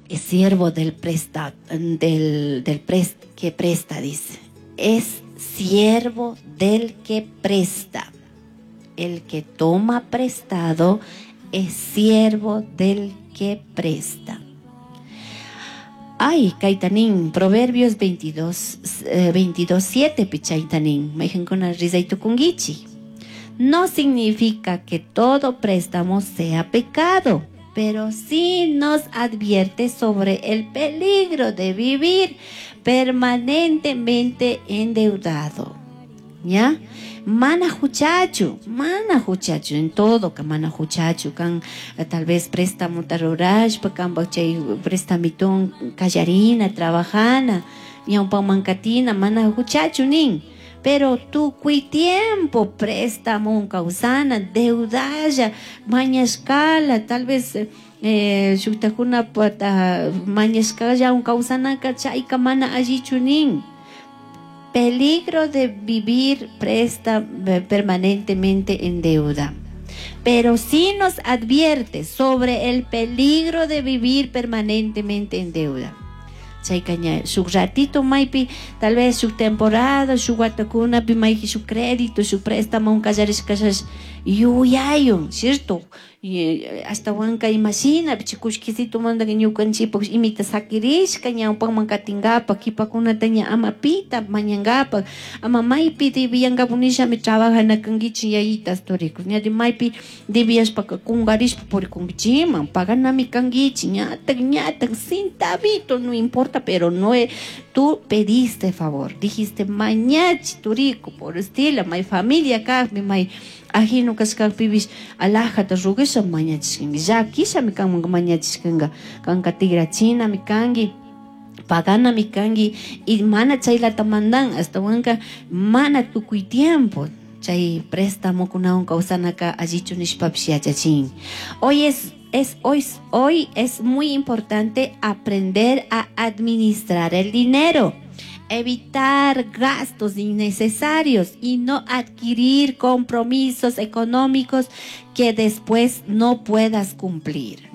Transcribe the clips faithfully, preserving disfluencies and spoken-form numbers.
Es siervo del presta, del, del prest, que presta, dice. Es siervo del que presta. El que toma prestado es siervo del que presta. Ay, kayta nin, Proverbios veintidós, eh, veintidós, siete pichayta nin, maijankuna rizaytukunkichik. No significa que todo préstamo sea pecado, pero sí nos advierte sobre el peligro de vivir permanentemente endeudado. ¿Ya? Mana juchachu, mana juchachu, en todo ka mana juchachu, kan tal vez préstamo rurashpa, kan chay prestamitun kallarina, trabajana, ñawpaman katina, mana juchachu nin. Pero tukuy tiempo préstamo kawsana, deudalla, mañashkala, tal vez eh, shuktakuna pata mañashkalla kawsanaka chayka mana allichu nin. Peligro de vivir presta permanentemente en deuda. Pero sí nos advierte sobre el peligro de vivir permanentemente en deuda. Chayka ña shuk ratito maypi tal vez shuk temporada shuk watakunapi maypi shuk crédito shuk préstamo kallarishkashash yuyayun, ¿cierto? Y ashtawanka imashina kullkisitumanta ñukanchikpak imita sakirishka ñawpakman katinkapak kipakunata ña ama pita mañankapak ama maypi debiyankapak nishami trabajana kankichik yayitas turiku ña maypi debiyashpaka kunkarishpa purikunkichikman paganami kankichik ñatak ñatak centavito no importa, pero no tú pediste favor, dijiste mañachi turiku por estilo may familia kakmi may ajino kashkakpipish alajata rugasha mañachishkanki llakishami kanman mañachishkanka kanka tigrachinami kanki paganami kanki y mana chaylata mandan ashtawanka mana tukuy tiempo chay préstamokunawan kawsanaka allichu nishpapish yachachin. Hoy es Es hoy, hoy es muy importante aprender a administrar el dinero, evitar gastos innecesarios y no adquirir compromisos económicos que después no puedas cumplir.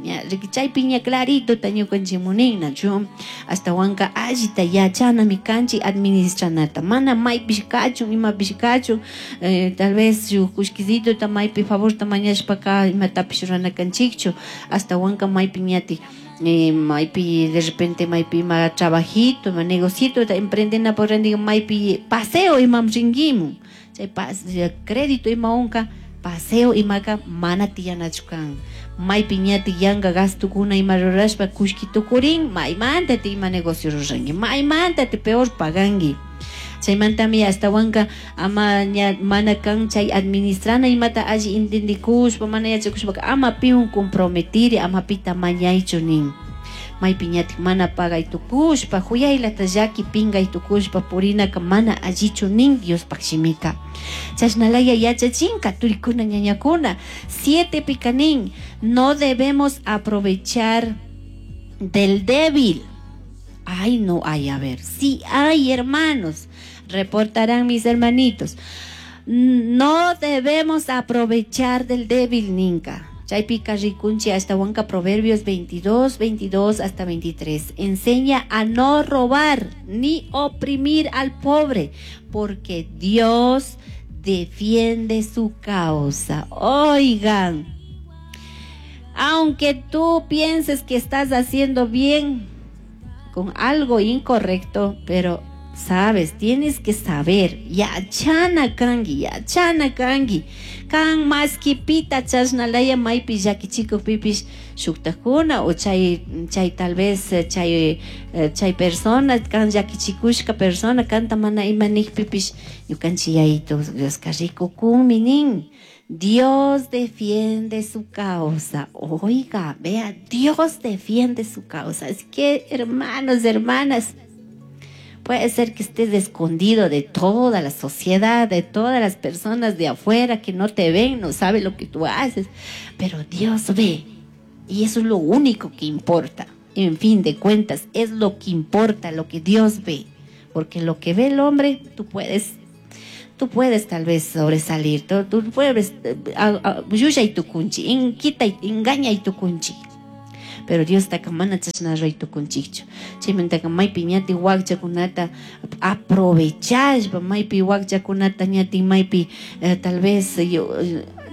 Chaypi ña clarito ñukanchik nachu ashtawanka allita yachanami kanchik administranata mana maypish kachun imapish kachun eh, tal vez shuk kullkisituta maypi favorta mañashpaka imatapish rurana kanchikchu ashtawanka maypi ñatik eh, maypi de repente maypi ima trabajito ima negocito emprendena por maypi paseo imam rinkimun chay crédito imawanka paseo imaka mana tiyanachu kan maypi ñatik yanka gastukuna ima rurashpa kullki tukurin maymanta ti ima negocio ruranki maymanta ti peor paganki chaymantami ashtawanka ama ña mana kan chay administrana imata alli entendikushpa mana yachakushpaka ama piwan comprometiri ama pita mañaychu nin maypi ñatik mana pagay tukushpa huyaylata llaki pingay tukushpa purinaka mana allichu nin Diospaq shimika chashnalaya yachachinka turikuna ñañakuna. Siete pika nin: no debemos aprovechar del débil. Ay, no hay, a ver, sí hay, hermanos, reportarán mis hermanitos. No debemos aprovechar del débil ninka. Chaypika rikunchik ashtawanka Proverbios veintidós, veintidós hasta veintitrés. Enseña a no robar ni oprimir al pobre, porque Dios defiende su causa. Oigan, aunque tú pienses que estás haciendo bien con algo incorrecto, pero sabes, tienes que saber, yachana kanki, yachana kanki, kan maski pita chashnalaya maypi llakichikukpipish shuktakuna o chay chay tal vez chay chay persona kan llakichikushka persona kanta mana ima nikpipish ñukanchik Yayito Dioska rikukunmi nin. Dios defiende su causa. Oiga, vea, Dios defiende su causa. Es que, hermanos, hermanas, puede ser que estés escondido de toda la sociedad, de todas las personas de afuera que no te ven, no saben lo que tú haces, pero Dios ve. Y eso es lo único que importa. En fin de cuentas, es lo que importa, lo que Dios ve. Porque lo que ve el hombre, tú puedes, tú puedes tal vez sobresalir, tú, tú puedes, llullay tukunchi, quita, engaña y tukunchi. Pero Diostaka mana chashna ruray tukunchikchu. Chaymantaka maypi ñati wakchakunata aprovechashpa, maypi wakchakunata ñati maypi eh, tal vez yo,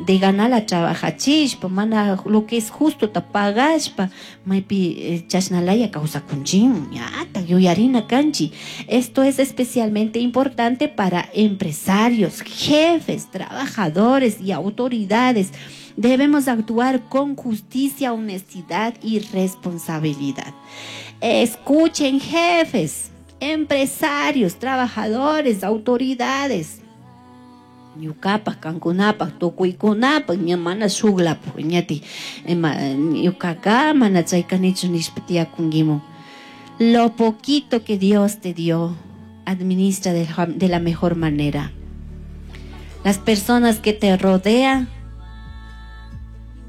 de ganala trabajachishpa, mana lo que es justo ta pagashpa, maypi eh, chashnalaya kawsakunchik, ñata yuyarina kanchik. Esto es especialmente importante para empresarios, jefes, trabajadores y autoridades. Debemos actuar con justicia, honestidad y responsabilidad. Escuchen, jefes, empresarios, trabajadores, autoridades. Ñukapak, kankunapak, tukuykunapak, ña mana shuklapak, ñati, ñukaka mana chaykanichu nishpa tiyakunkimun. Lo poquito que Dios te dio, administra de, de la mejor manera. Las personas que te rodean,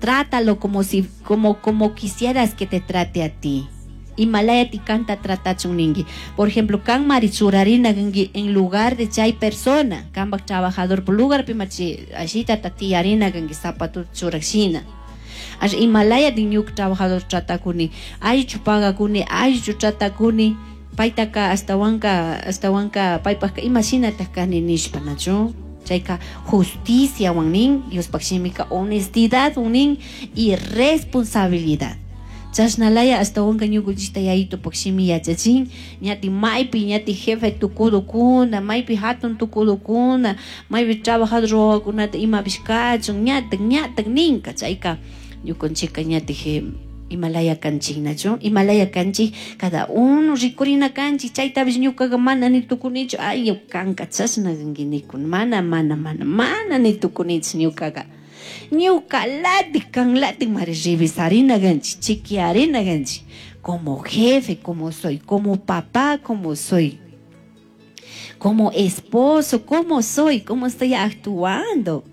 trátalo como si, como, como quisieras que te trate a ti. Imalaya ti kanta tratachun ningi. Por ejemplo, kan mari churarina gangi en lugar de chay persona, kanpak trabajador por lugar pimachi ashita tatiarina gangi zapato churakshina. Ash imalaya ti ñuk trabajador tratakuni, aychu pagakuni, aychu tratakuni, paytaka astawanka, astawanka paypajka imashinataq kani nishpa, nachu? Chayka justicia wan nin, Diospaj shimika honestidad wan nin y responsabilidad. Chashnalaya astawanka ñukunchikta yayitupaj shimi yachachin, ñati maypi ñati jefe tukudukuna, maypi hatun tukudukuna, maypi trabajador wawakunata imapish kachun, ñatak ñatak ninka. Chayka ñukunchikka ñati imalaya kanchik, nachu? Imalaya kanchik, cada uno rikurina kanchik. Chaytapish ñukaqa mana ni tukunichu, ay kanka chashna kanki nikun, mana mana mana mana ni tukunichu ñukaqa. Ñuka latik kan latik mari revisarina kanchik, chequearina kanchik, como jefe, como soy, como papá, como soy, como esposo, como soy, cómo estoy actuando.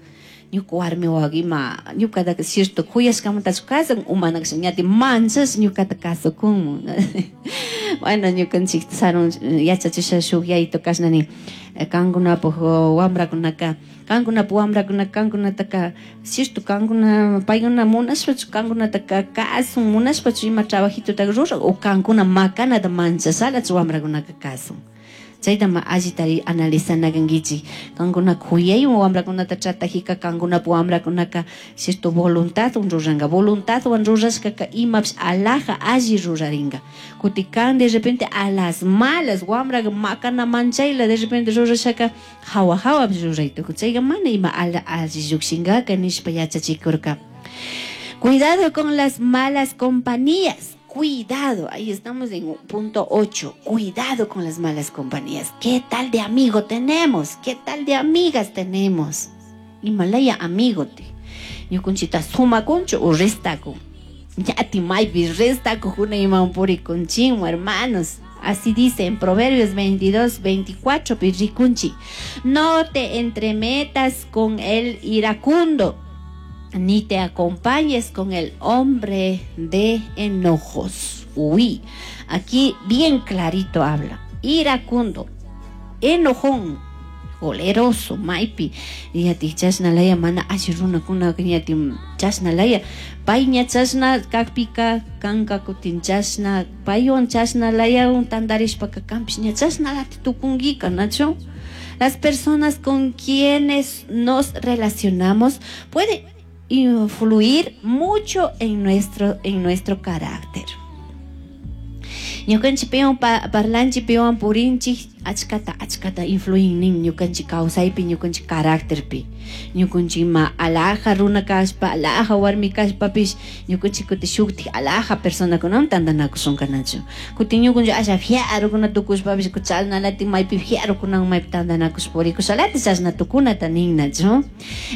Ñuka warmi wawa ima ñukataka cierto kuyashkamantachu kasan o mana ñati manchash ñukata kasukunmun. Bueno, ñukanchik sarun yachachisha shuk yayito kashna nin, kankunapak wambrakunaka, kankunapa wambrakunaka kankunataka cierto kankuna paykuna munashpachu kankunataka kasun, munashpachu ima trabajitotaka ruran o kankuna makanata manchashalachu wambrakunaka kasun. Chayta ma allita analizana kankichik. Kankuna kuyaywan wambrakunata tratajika, kankunapa wambrakunaka cierto voluntadwan ruranka, voluntadwan rurashkaka imapish alaja alli rurarinka. Kutin kan de repente a las malas wambraka makana manchayla de repente rurashaka hawa hawapish ruray tukun, chayka mana ima ala alli llukshinkaka nishpa yachachikurka. Cuidado con las malas compañías. Cuidado, ahí estamos en punto ocho. Cuidado con las malas compañías. ¿Qué tal de amigo tenemos? ¿Qué tal de amigas tenemos? Imalaya amigo te. Ñukunchita sumakunchu o restakun. Ñati maypi restakujuna iman purikunchinmu, hermanos. Así dice en Proverbios veintidós, veinticuatro, pirrikunchi. No te entremetas con el iracundo, ni te acompañes con el hombre de enojos. Uy, aquí bien clarito habla. Iracundo, enojón, coleroso, maypi. Yati chashnalaya mana alli runakuna yati chashnalaya. Payña chashna kakpika kanka kutin chashna paywan chashnalaya tandarishpaka kanpish ña chashnalati tukunkika, nachu? Las personas con quienes nos relacionamos pueden influir mucho en nuestro, en nuestro carácter. Ñukanchik piwan parlanchik, piwan purinchik, achkata achkata influin nin ñukanchik kawsaypi, ñukanchik carácterpi. Ñukanchik ima alaja runa kashpa, alaja warmi kashpapish, ñukanchik kutin shuktik alaja personakunawan tantanakushunka, nachu? Kutin ñukanchik asha fiarukuna tukushpapish, chashnalatik maypi fiarukunawan maypi tantanakushpa purikushalati chashna tukunata nin, nachu?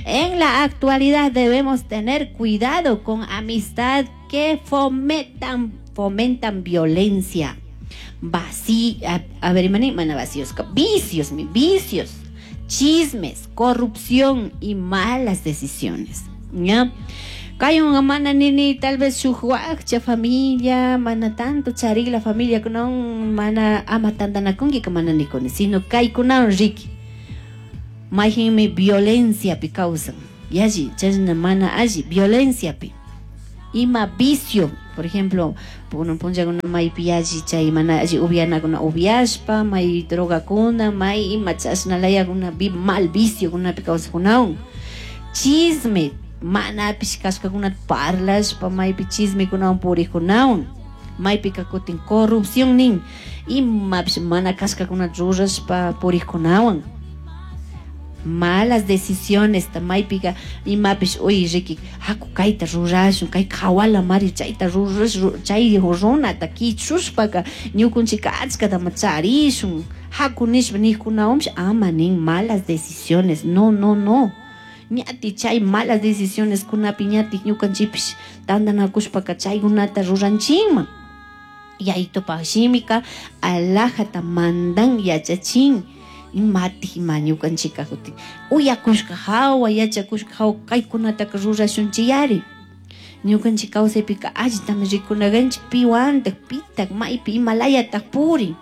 En la actualidad debemos tener cuidado con amistad que fomentan, fomentan violencia, vací, a, a ver, mana vacíos, vicios, vicios, chismes, corrupción y malas decisiones. ¿Ya? Kaywan mana nini tal vez shuk wakcha familia, mana tanto charikla familia kunawan mana ama tantanakunki mana nikuni, sino kaykunawan riki. Mayhinmi violenciapi kawsan. Yalli, chashna mana alli, violenciapi. Ima vicio, por ejemplo, punllakuna maypi yalli chay mana alli upianakuna upiashpa, may drogakuna, may ima chashna layakuna mal viciokunapi kawsakunawun. Chisme, manapish kashkakunata parlashpa maypi chismekunawan purikunawan. Maypika kutin corrupción nin, imapish mana kashkakunata rurashpa purikunawan. Malas decisiones maypika imapish uy riki haku kayta rurashun kay kawala mari chayta rurash chay runata kichushpaka ñukunchika achkatama charishun haku nishpa nikunawanpish ama nin malas decisiones, no, no, no. Ñati chay malas decisiones kunapi ñati ñukanchikpish tantanakushpaka chaykunata ruranchikman. Yayitupak shimika alajata mandan yachachin. Imati ima ñukanchika kutin uyakushka hawa yachakushka hawa kaykunataka rurashunchiyari. Ñukanchik kawsaypika allitami rikunakanchik piwantak pitak maypi imalayatak purin.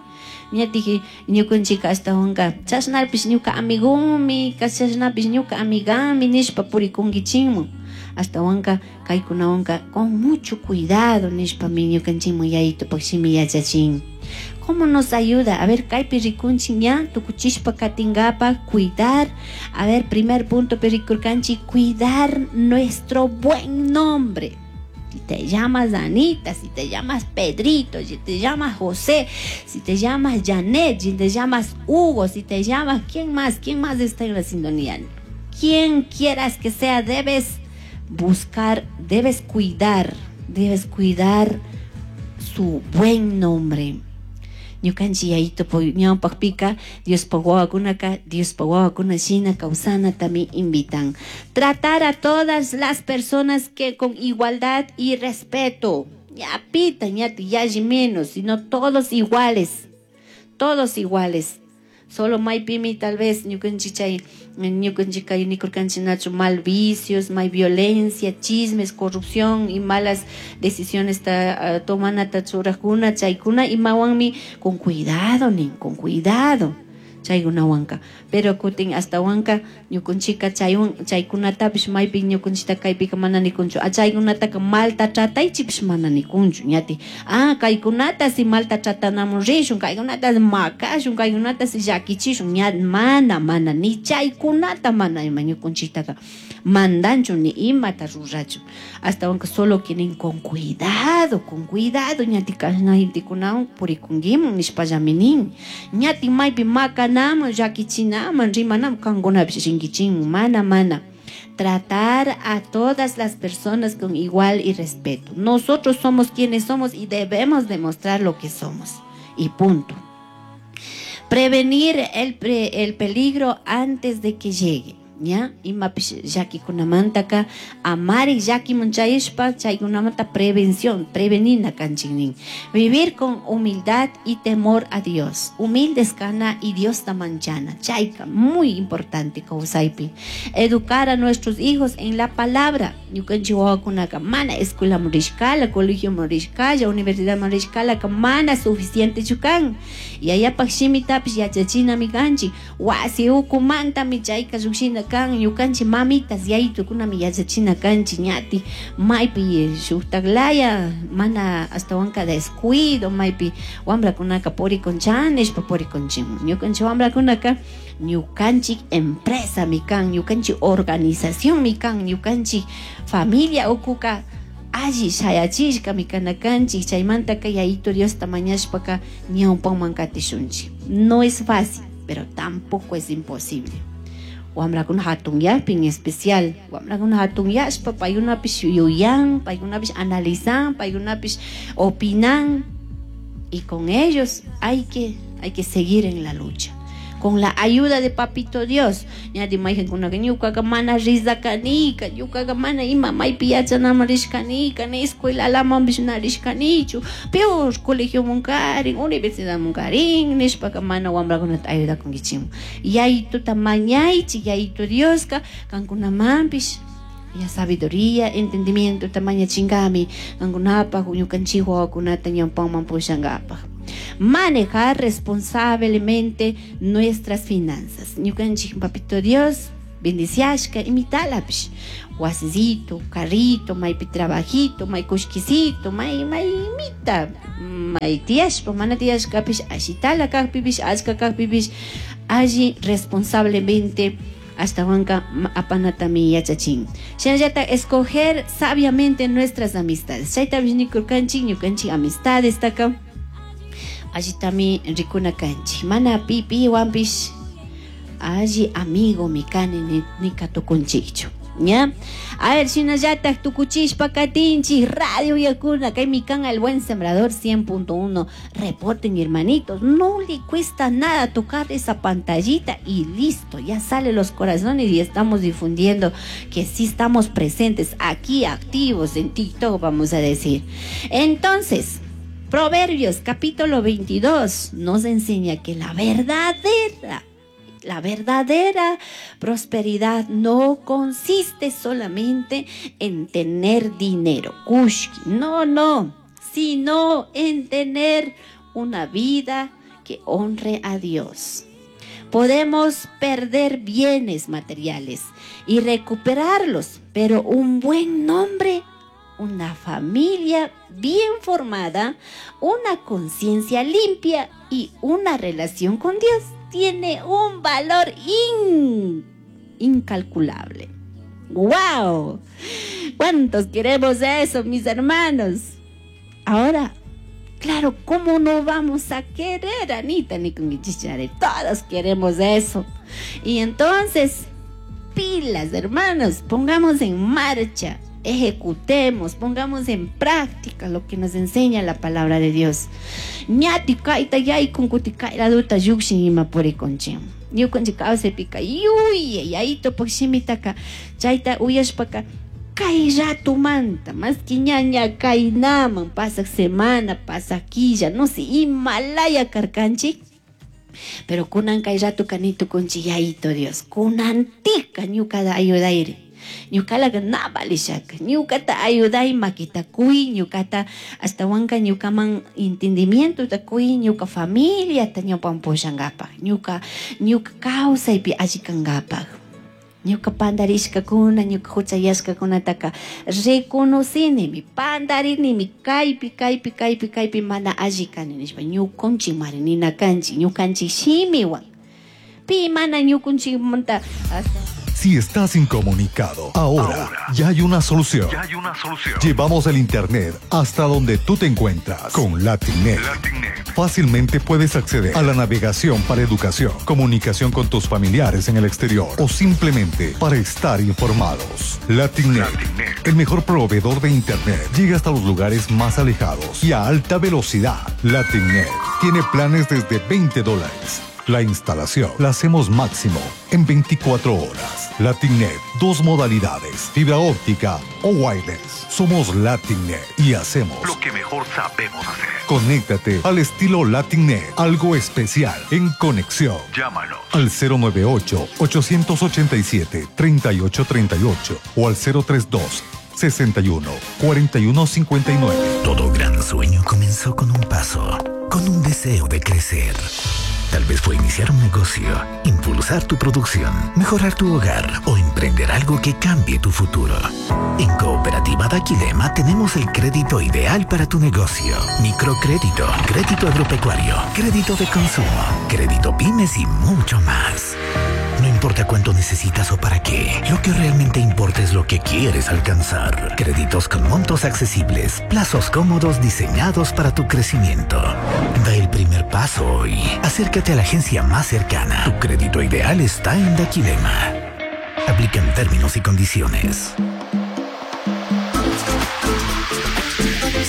Ñatiki ñukanchika ashtawanka chashnapish ñuka amigomi chashnapish ñuka amigami nishpa purikunkichikman. Ashtawanka kaykunawanka con mucho cuidado nishpami ñukanchikman yayitupak shimi yachachin. ¿Cómo nos ayuda? A ver, kaypi rikunchik ña tukuchishpa katinkapak cuidar. A ver, primer punto rikurkanchik, cuidar nuestro buen nombre. Si te llamas Anita, si te llamas Pedrito, si te llamas José, si te llamas Janet, si te llamas Hugo, si te llamas, ¿quién más? ¿Quién más está en la sintonía? Quien quieras que sea, debes buscar, debes cuidar, debes cuidar su buen nombre. Ñukanchik yayito ñawpakpika Diospaj wawakunaka Diospaj wawakuna shina kawsanatami invitan. Tratar a todas las personas que con igualdad y respeto. Ñapita, ñati, yalli menos, sino todos iguales. Todos iguales. Solo maypimi tal vez ñukanchik chay ñukanchik kay nikurkanchik mal vicios, may violencia, chismes, corrupción y malas decisiones ta uh, tomanata churajkuna chaykuna imawanmi con cuidado nin, con cuidado chaykunawanka. Pero kutin hasta wanka ñukanchika chaywan chaykunatapish maypi ñukanchita kaypika mana nikunchu a chaykunataka malta trataychipish mana nikunchu ñati ah kaykunata si malta tratanamun rishun kaykunata makashun kaykunata si llakichishun ña mana mana ni chaykunata mana ima ñukanchiktaka mandanchu ni imata rurachun hasta wanka solo quieren con cuidado, con cuidado ñati kashna gentekunawan purikunkiman nishpallami nin ñati maypi makanaman llakichinaman rimanaman kankunapish rinkichikman mana mana. Tratar a todas las personas con igual y respeto. Nosotros somos quienes somos y debemos demostrar lo que somos. Y punto. Prevenir el, pre, el peligro antes de que llegue. ¿Ya? Imapish llakikunamantaka amari llakiman chayashpa chaykunamanta prevención, prevenina kanchik nin. Vivir con humildad y temor a Dios. Humildes kana y Dios manchana. Chayka, muy importante kawsaypi. Educar a nuestros hijos en la palabra. Ñukanchik wawakunaka mana escuela rishkala, colegio rishkalla, universidad rishkala, mana suficiente kan. Yayapak shimitapish yachachinami kanchik. Wasi ukumantami chayka llukshina kan ñukanchik mamitas yayitukunami yachachina kanchik ñati maypi shuktaklaya mana ashtawanka descuido maypi wambrakunaka purikuncha nishpa purikunchikman ñukanchik wambrakunaka ñukanchik empresami kan ñukanchik organizacionmi kan ñukanchik familia ukuka alli shayachishkami kana kanchik chaymantaka yayito Diosta mañashpaka ñawpanman katishunchik. No es fácil, pero tampoco es imposible. Wamrakuna hatunyakpi en especial wamrakuna hatunyashpa paykunapish yuyan, paykunapish analizan, paykunapish opinan y con ellos hay que, hay que seguir en la lucha. Con la ayuda de Papito Dios. Ñati mayqankunaka ñukaqa mana rizakanika, ñukaqa mana ima maypi yachanaman rishkanika, ni escuelalamanpish na rishkanichu, peor colegioman karin, universidadman karin, nishpaka mana wamrakunata ayudakunkichikman. Yayituta mañaychik, Yayito Dioska kankunamanpish ya sabiduría, entendimiento mañachinkami kankunapaj ñukanchik wawakunata ñawpaman pushankapaj. Manejar responsablemente nuestras finanzas. Ñukanchik Papito Dios Bendiciashka imitalapish wasisito, carrito, maypi trabajito, may kushkisito, may may imita, may tiyashpa, mana tiyashkapish ashitala kajpipish, achka kajpipish, alli responsablemente ashtawanka apanatami yachachin. Shinallata escoger sabiamente nuestras amistades. Chaytapish nikurkanchik, ñukanchik amistades taka allitami rikuna kanchik. Mana pi piwanpish alli amigo mi kani nika tukunchikchu. ¿Ya? A ver, shinallatak tukuchishpa katinchik radio yakuna, kaymi kan El Buen Sembrador cien punto uno. Reporten, hermanitos, no le cuesta nada tocar esa pantallita y listo, ya salen los corazones y estamos difundiendo que sí estamos presentes aquí, activos en TikTok, vamos a decir. Entonces, Proverbios capítulo veintidós nos enseña que la verdadera La verdadera prosperidad no consiste solamente en tener dinero, kushki, no, no, sino en tener una vida que honre a Dios. Podemos perder bienes materiales y recuperarlos, pero un buen nombre, una familia bien formada, una conciencia limpia y una relación con Dios tiene un valor in, incalculable. ¡Wow! ¿Cuántos queremos eso, mis hermanos? Ahora, claro, ¿cómo no vamos a querer, Anita, ni con Ichichare? Todos queremos eso. Y entonces, pilas, hermanos, pongamos en marcha, ejecutemos, pongamos en práctica lo que nos enseña la palabra de Dios. Ñati kaita yay kunkuti kaira duta yukshin ima purikunchim. Ñukanchik kawsaypika yuya yayito pukshimitaqa chayta uyashpaka kay ratumanta maski ñaña kaynaman pasaq semana pasaq killa no sé imalaya karkanchik. Pero kunan kay ratu kanitukunchik yayito Dios kunantika ñuqata ayudayri. Ñuqalaqa na valishaka, ñuqata ayuday makita kuy, ñuqata ashtawanka ñuqaman entendimiento ta kuy, ñuqa familia ta ñupan pushankapaq, ñuqa ñuqa kawsaypi alli kankapaq. Ñuqa pandarishkakuna, ñuqa huchayashkakunataka reconocinimi, pandarinimi, kaypi, kaypi, kaypi, kaypi mana alli kani nishpa, ñuqunchik mari nina kanchik, ñuqanchik shimiwan. Pi mana ñuqunchikmanta hasta Si estás incomunicado, ahora, ahora ya hay una solución. Ya hay una solución. Llevamos el internet hasta donde tú te encuentras con LatinNet. LatinNet. Fácilmente puedes acceder a la navegación para educación, comunicación con tus familiares en el exterior o simplemente para estar informados. LatinNet, LatinNet, el mejor proveedor de internet, llega hasta los lugares más alejados y a alta velocidad. LatinNet tiene planes desde veinte dólares. La instalación la hacemos máximo en veinticuatro horas. LatinNet, dos modalidades, fibra óptica o wireless. Somos LatinNet y hacemos lo que mejor sabemos hacer. Conéctate al estilo LatinNet, algo especial en conexión. Llámanos al cero nueve ocho, ochocientos ochenta y siete, treinta y ocho treinta y ocho o al cero tres dos, sesenta y uno, cuarenta y uno cincuenta y nueve. Todo gran sueño comenzó con un paso, con un deseo de crecer. Tal vez fue iniciar un negocio, impulsar tu producción, mejorar tu hogar o emprender algo que cambie tu futuro. En Cooperativa Daquilema tenemos el crédito ideal para tu negocio. Microcrédito, crédito agropecuario, crédito de consumo, crédito pymes y mucho más. No importa cuánto necesitas o para qué, lo que realmente importa es lo que quieres alcanzar. Créditos con montos accesibles, plazos cómodos diseñados para tu crecimiento. Da el primer paso hoy. Acércate a la agencia más cercana. Tu crédito ideal está en Daquilema. Aplican términos y condiciones.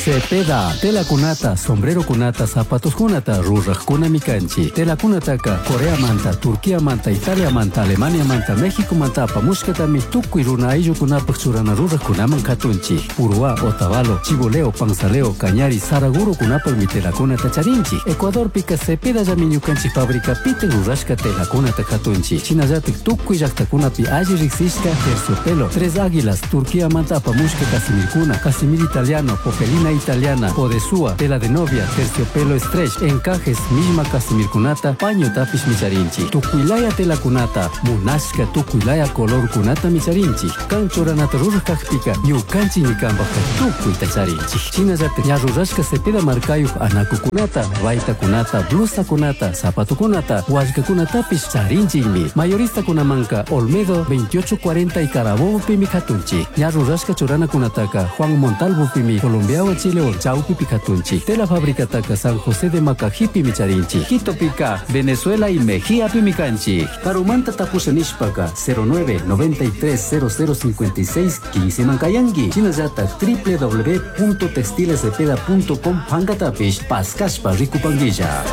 Cepeda, tela kunata, sombrero kunata, zapatos kunata, ruraj kunami kanchi. Tela kunataka, Corea manta, Turquía manta, Italia manta, Alemania manta, México manta, apamushkatami, tukuy runa ayllu kunapaj churana ruraj kunaman katunchi. Uruá, Otavalo, Chiboleo, Panzaleo, Cañari, Saraguro kunapaj mi tela kunata charinchi. Ecuador pika Cepeda llami ñukanchi fábrica pite rurashka tela kunata katunchi. Chinallatik tukuy llaqtakunapi alli riqsishka terciopelo, Tres Águilas, Turquía manta apamushka Casimir kuna, Casimir italiano, Popelina Lana italiana, podesúa, tela de novia, terciopelo stretch, encajes, millma casimirkunata, pañotapishmi charinchik. Tukuylaya telakunata, munashka tukuylaya colorkunatami charinchik. Kan churanata ruraj kakpika, ñukanchikmi kanpajka tukuyta charinchik. Shinallatak ña rurashka Cepeda markayuk anakukunata, baytakunata, blusakunata, zapatokunata, wallkakunatapish charinchikmi. Mayoristakunamanka Olmedo veintiocho cuarenta y Carabobopimi katunchik. Ña rurashka churanakunataka Juan Montalvopimi, Colombiawan Chilewan chawpipi katunchik. Tela fabricataka San José de Macajipimi charinchik. Quitopika, Venezuela y Mejíapimi kanchik. Karumanta tapusha nishpaka cero nueve noventa y tres cero cero cincuenta y seis quince mankayanki. Shinallatak w w w punto textilescepeda punto com pankatapish paskashpa rikupankilla.